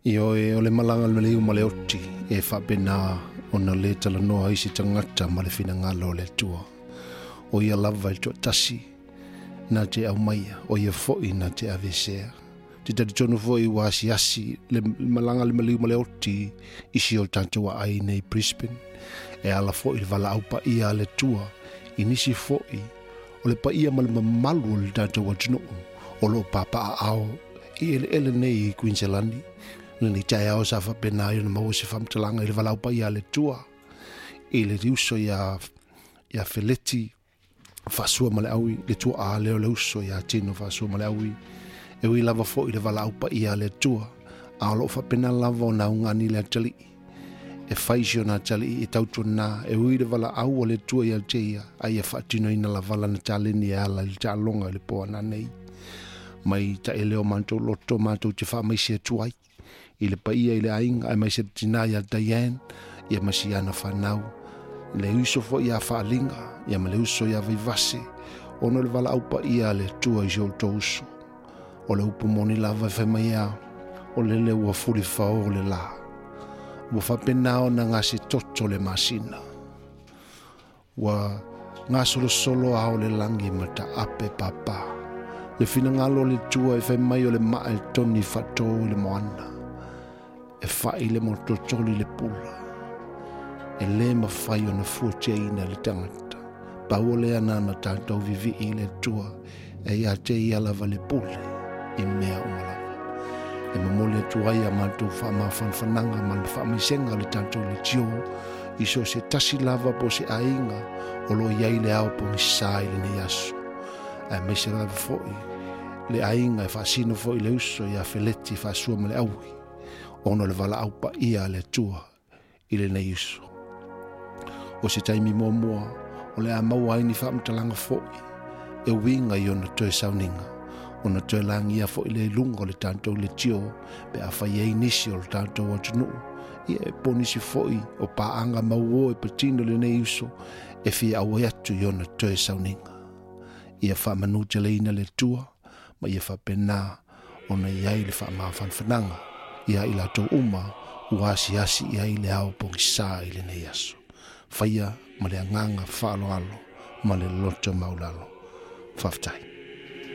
Ioe, o le malaga a le maliu ma le oti e faapena ona lē talanoa ai se tagata ma le finagalo o le Atua. O ia lava e le toatasi na te aumaia, o ia foʻi na te aveesea. Te talitonu foʻi ua asiasi le malaga a le maliu ma le oti i si o tatou aai nei Brisbane. E ala foʻi le valaau paia a le Atua i nisi foʻi o le paia ma le mamalu o le tatou atunuu o loo papaaao i eleele nei i Kuiniselani. Lenei taeao sa faapena ai ona maua se faamatalaga i le valaau paia a le Atua i le uso ia Feleti Faasua ma le Aui, le tuaa lea o le uso ia Tino Faasua ma le Aui. E ui lava foʻi le valaau paia a le Atua, a o loo faapena lava ona augani le atalii e fai si ona atalii e tautuana e ui le valaau a le Atua ia te ia, a ia faatinoina lava lana taleni e ala i le taaloga i le po ananei. Mai taele o matou loto matou te faamaise atu ai i le paia i le aiga aemaise le tinā ia Diane ia ma si ana fanau, le uso foʻi ia Faaliga ia ma le uso ia Vaivase, ona o le valaau paia a le Atua i si outou uso. O le upu moni lava e fai mai a o lele ua fulifao o le lā, ua faapena ona gase toto le masina, ua gasolosolo ao le lagi ma taape pāpā. Le finagalo o le Atua e fai mai o le maa e toni faatō i le moana, e fai le mototoli le pula, e lē mafai ona fuatiaina le tagata. Pau o lea na tatou vivii i le Atua e ia te ia lava le pule i mea uma lava. E momoli atu ai a matou faamafanafanaga ma le faamaisega o le tatou leitio i so o se tasi lava po o se aiga o loo i ai le ao pogisā i lenei aso, aemaise lava foʻi le aiga e faasino foʻi le uso ia Feleti Faasua ma le Aui, ona o le valaau paia a le Atua i lenei uso. O se taimi muamua o le a maua ai ni faamatalaga foʻi e uiga i ona toe sauniga, ona toe lagia foʻi le luga o le tatou leitio pe afai ai nisi o le tatou atunuu ia e po nisi foʻi o paaga mauō e patino lenei uso e fia auai atu i ona toe sauniga. Ia faamanuteleina le Atua ma ia faapena ona i ai le faamafanafanaga ia i latou uma ua asiasi i ai le ao pogisā i lenei aso. Faia ma le agaga faaaloalo ma le loto maulalo. Faafetai.